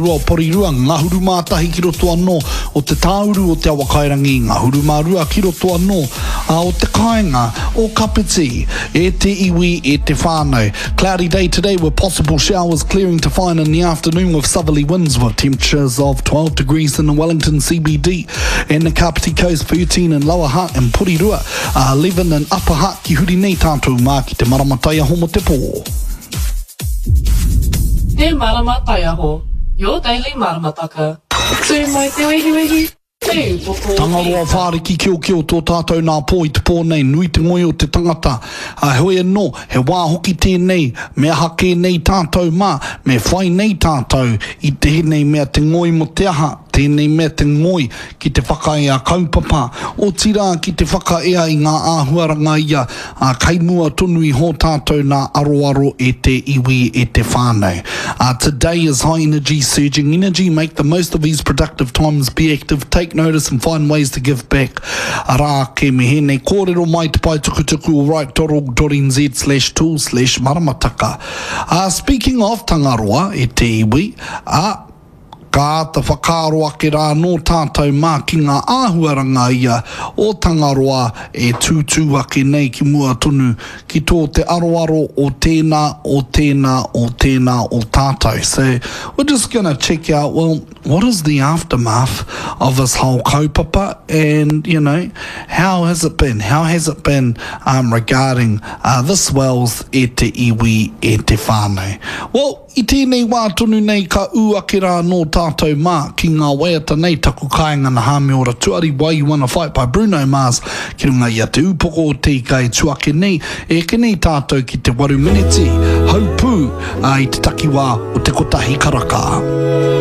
Rua o Porirua, ngahuru mā tahi ki roto anō o te tāuru o Te Awakairangi, ngahuru mā rua ki roto anō o te kāinga o Kapiti. E te iwi, e te whānau. Cloudy day today with possible showers clearing to fine in the afternoon with southerly winds with temperatures of 12 degrees in the Wellington CBD and the Kapiti Coast, 13 in Lower Hutt and Porirua, 11 in Upper Hutt ki huri nei tātou mā ki te marama taiaho mo te pō. Te Marama Taiaho, Your Daily Maramataka. Tū mai te wehiwehi, te upoko o te Tangaroa ika. whāriki kiokio tō tātou nā pō i te pō nei, nui te ngoi o te tangata. Ā, heoi anō, he wā hoki tēnei, me aha kē nei tātou mā, me whai nei tātou i tēnei mea te ngoi mō te aha, tēnei mea te ngoi ki te whakaea kaupapa, otirā ki te whakaea i ngā āhuaranga ia, ā, kei mua tonu i hō tātou nā aroaro e te iwi, e te whānau. Ā, today is high energy, surging energy, make the most of these productive times, be active, take notice and find ways to give back. Arā ake me hēnei kōrero mai te pae tukutuku o right.org.nz slash tool slash maramataka. Ā, speaking of Tangaroa, e te iwi, ā, Ka āta whakaaro ake rā anō tātou mā ki ngā āhuaranga ia o Tangaroa e tūtū ake nei ki mua tonu ki tō te aroaro o tēnā, o tēnā, o tēnā o tātou. So, we're just gonna check out, well, what is the aftermath of this whole kaupapa and, you know, how has it been? How has it been um, regarding uh, this Wells e te iwi, e te whānau? Well, I tēnei wā tonu nei ka ū ake rā anō tātou mā ki ngā waiata nei Taku Kāinga na Hāmiora Tuari, Why You Wanna Fight by Bruno Mars ki runga i a Te Ūpoko o Te Ika e tu ake nei, e eke nei tātou ki te waru meneti, haupū, ā, i te takiwā o te kotahi karaka.